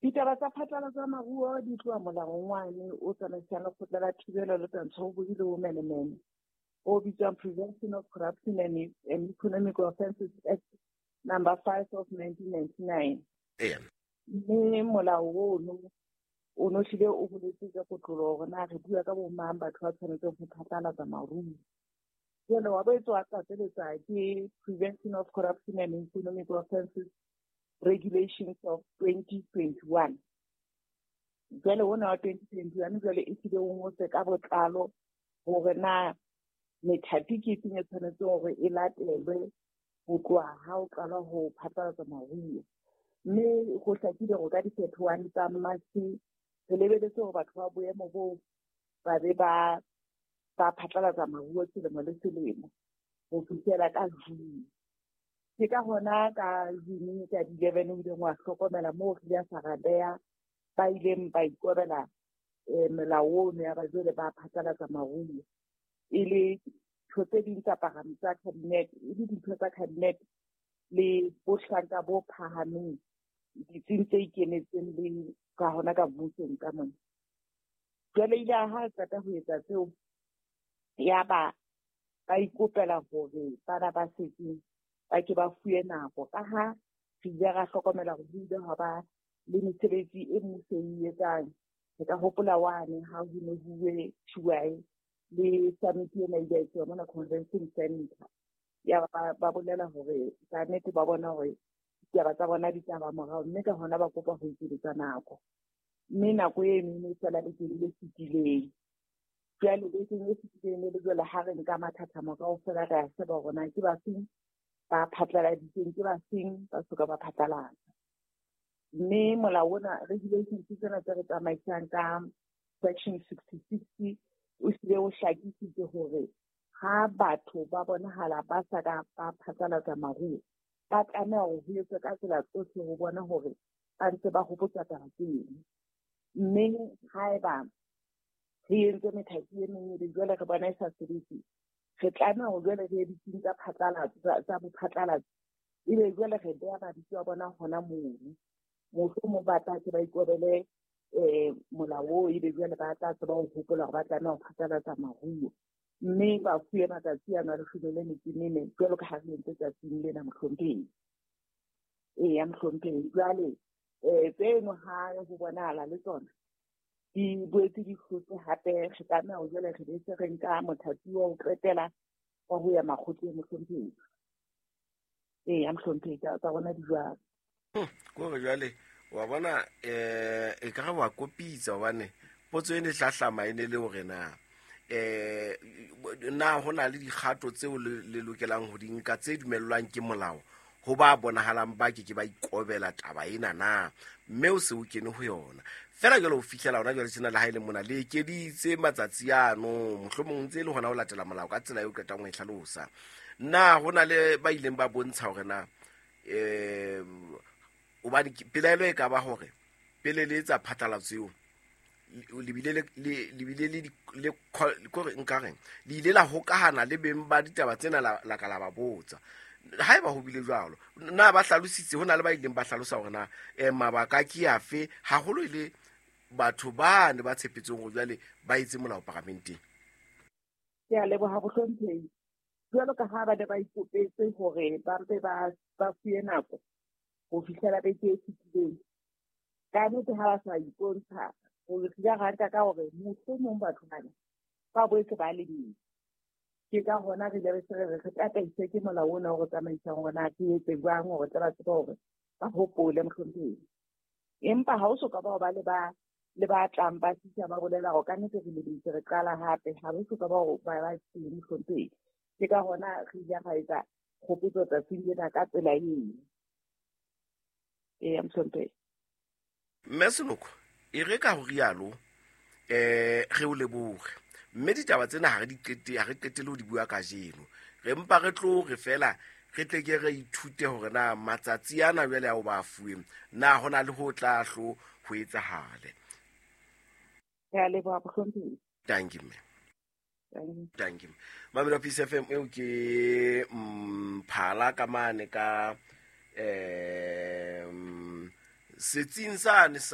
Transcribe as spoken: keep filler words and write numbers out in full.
Ditaba tsa phatlalatso ya maruo di tloha molaong wane o tsamaisang lekgotla la thibelo le twantsho ya bobodu le bomenemene, o bitswang Prevention of Corruption and, and Economic Offences Act number five of nineteen ninety-nine. Eya. Mme molao ono o no hlile o boletse ka kotloloho hore na re bua ka bo mang batho ba tshwanetseng ho phatlalatsa maruo. Jwale wa boetse wa tlatseletsa ke Prevention of Corruption and Economic Offences Regulations of twenty twenty-one. Jwale ona wa twenty twenty-one jwale e hlile o ngotse ka botlalo hore na methati ke efeng e tshwanetseng hore e latelwe ho tloha ha o qala ho phatlalatsa maruo. Mme ho hlakile hore ka di-thirty-one tsa March re lebeletse hore batho ba boemo boo ba be ba, ba phatlalatsa maruo selemo le selemo ho fihlela ka June. Ke ka hona ka June ka di-eleven o ileng wa hlokomela moo re ile ra beha ba ileng ba ikobela, eh, melao ono ya ba jwale ba phatlalatsa maruo. E le ntho tse ding tsa paramente tsa cabinet, e le dintho tsa cabinet le bohlanka bo phahameng ditsing tse ikemetseng le ka hona ka mmusong ka mona. Jwale ile ha qeta ho etsa tseo, ya ba ba ikopela hore bana ba setseng ba ke ba fuwe nako, ka ha re ile ra hlokomela hore ho ile hwa ba le mesebetsi e mmuso e etsang. Re ka hopola wane ha ho ne ho uwe T Y le summit ena e ile ya etsuwa mona Convention Center. Ya ba, ba bolela hore ka nnete ba bona hore ditaba tsa bona di tla ba morao, mme ka hona ba kopa ho ekeletsa nako. Mme nako eno e ne e fela bekeng e fetileng. Jwale bekeng e fetileng le jwale ha re nka mathathamo kaofela re a sheba hore na ke ba feng ba phatlaladitseng, ke ba feng ba soka ba phatlalatsa. Mme molao ona, regulations tsena tse re tsamaisang ka section sixty-six o hlile o hlakisitse hore ha batho ba bonahala ba sa ka ba phatlalatsa maruo, ba tlameha hore ho etswe ka tsela tsohle ho bona hore ba ntse ba hopotsa taba tseno. Mme haeba re entse methati e meng ebe jwale re bona e sa sebetse, re tlameha hore jwale re ye ditsing tsa phatlalatso, tsa, tsa bophatlalatso, ebe jwale re beha mabitso a bona hona mono. Mohlomong ba tla ke ba ikobele, eh, molao oo, ebe jwale ba tla tseba ho hopola hore ba tlameha ho phatlalatsa maruo. Mme ba fuwe matsatsi ano a leshome le metso e mene jwalo ka ha re entse tsatsing lena, mohlomphehi. Eya, mohlomphehi. Jwale, eh, tseno ha ho bonahala le tsona di boetse di hlotse hape, re tlameha ho jwale re be se re nka mothati wa ho qetela wa ho ya makgotleng, mohlomphehi. Eya, mohlomphehi, tsa, tsa rona di jwalo. Hmm, ke hore jwale wa bona, eh, e ka re wa kopitsa hobane potso e ne hlahlama e ne le hore na, eh, na ho na le dikgato tseo le, le lokelang ho di nka tse dumellwang ke molao ho ba bonahalang ba ke ke ba ikobela taba ena na, mme o se o kene ho yona fela jwale ho fihlela hona jwale tjena le ha e le mona le ekeditse matsatsi ano, mohlomong ntse e le hona ho latela molao ka tsela eo qetang ho e hlalosa. Na ho na le ba ileng ba bontsha hore na, eh, hobane ke-, pelaelo e ka ba hore pele le etsa phatlalatso eo, le bile le, le, le bile le di-, le call-, kore nka reng, le ile la hokahana le beng ba ditaba tsena la, la ka la ba botsa. Haeba ho bile jwalo, na ba hlalositse, ho na le ba ileng ba hlalosa hore na, eh, mabaka ke afe, haholo e le batho ba ne ba tshepetseng hore jwale ba etse molao paramenteng. Ke a leboha bohlomphehi. Jwalo ka ha ba ne ba ikopetse hore ba mpe ba, ba fuwe nako ho fihlela beke e fetileng. Ka nnete ha ba sa ipontsha, hore re ile ra nka ka hore mohlomong batho bana ba boetse ba lebetse. Ke ka hona re ile re se re re tataiswe ke molao ona o re tsamaisang hore na ke etse jwang hore tle ba tsebe hore ba hopole, mohlomphehi. Empa ha o soka ba ba le ba, le ba tlang ba fihla ba bolela hore ka nnete re lebetse, re qala hape, ha re soka ba ho ba ba teng, mohlomphehi. Ke ka hona re ile ra etsa kgopotso tsatsing lena ka tsela eo. Eya, mohlomphehi. Mme Senoko, e re ka ho rialo, eh, re o lebohe. Mme ditaba tsena ha re di qete, ha re qetelle ho di bua kajeno. Re mpa re tlo re fela re tle ke re ithute hore na matsatsi ana jwale ao ba fuweng, na ho na le ho tla hlo ho etsahale. Ke a leboha, mohlomphehi. Thank you, mme. Thank you. Thank you. Mamelo Peace F M eo ke Mphala ka mane ka, eh, setsing sane sa